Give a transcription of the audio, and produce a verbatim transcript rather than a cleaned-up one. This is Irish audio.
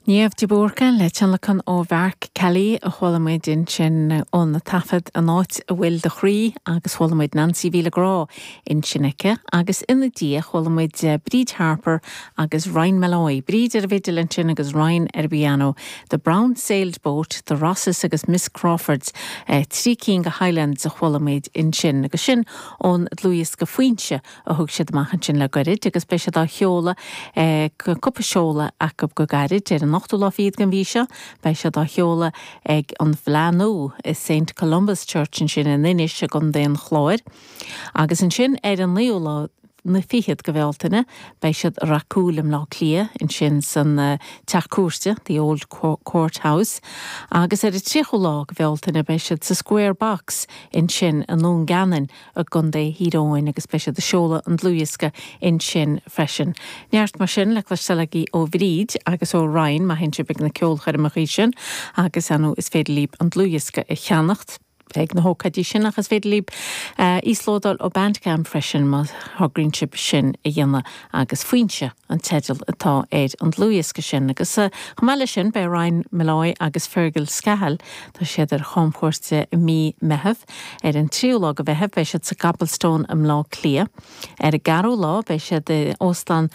Niamh de Búrca le tionlacan ó Mhark Kelly a chuala muid ansin ón taifead an áit a bhfuil do chroí agus chuala muid Nancy Mhíle Grá ansin aici agus ina diaidh chuala muid eh, Bríd Harper agus Ryan Malloy. Bríd ar an bhfidil ansin agus Ryan ar piano, The Brown Sailed Boat, The Rosses agus Miss Crawfords eh, trí cinn de Highlands a chuala muid ansin agus sin ón dlúthdhiosca Foinse a thug siad amach ansin le gairid agus beidh siad á sheoladh eh, cúpla seoladh acu go gairid ar an ochtú lá fichead den mhí seo, beidh siad á sheoladh ag an bhFleadh i St Columba's Church ansin in Inis i gContae an Chláir. Agus ansin ar an naoú lá na fichead de Bhealtaine, beidh siad racúil i mBleá Cliath ansin san uh, teach cúirte, the Old Court House, agus ar an tríochú lá de Bhealtaine beidh siad sa Square Box ansin i nDún Geanainn i gContae Thír Eoghain agus beidh siad ag seoladh an dlúthdhiosca ansin freisin. Neart mar sin le cloisteáil ó Bhríd agus ó Ryan má théann sibh ag na ceolchoirmeacha sin agus anú is féidir libh an dlúthdhiosca a cheannacht ag na hócáidí sin agus féidir libh uh, íoslódáil ó Bandcamp freisin má thograíonn sibh sin a dhéanamh agus Foinse an teideal atá ar an dlúthdhiosca sin agus uh, chomh maith leis sin beidh Ryan Malloy agus Fergal Scahill tá siad ar chamchuairt i mí Mheithimh ar an tríú lá de Mheitheamh beidh siad sa Cobblestone i mBleá Cliath. Ar an gceathrú lá beidh siad i óstán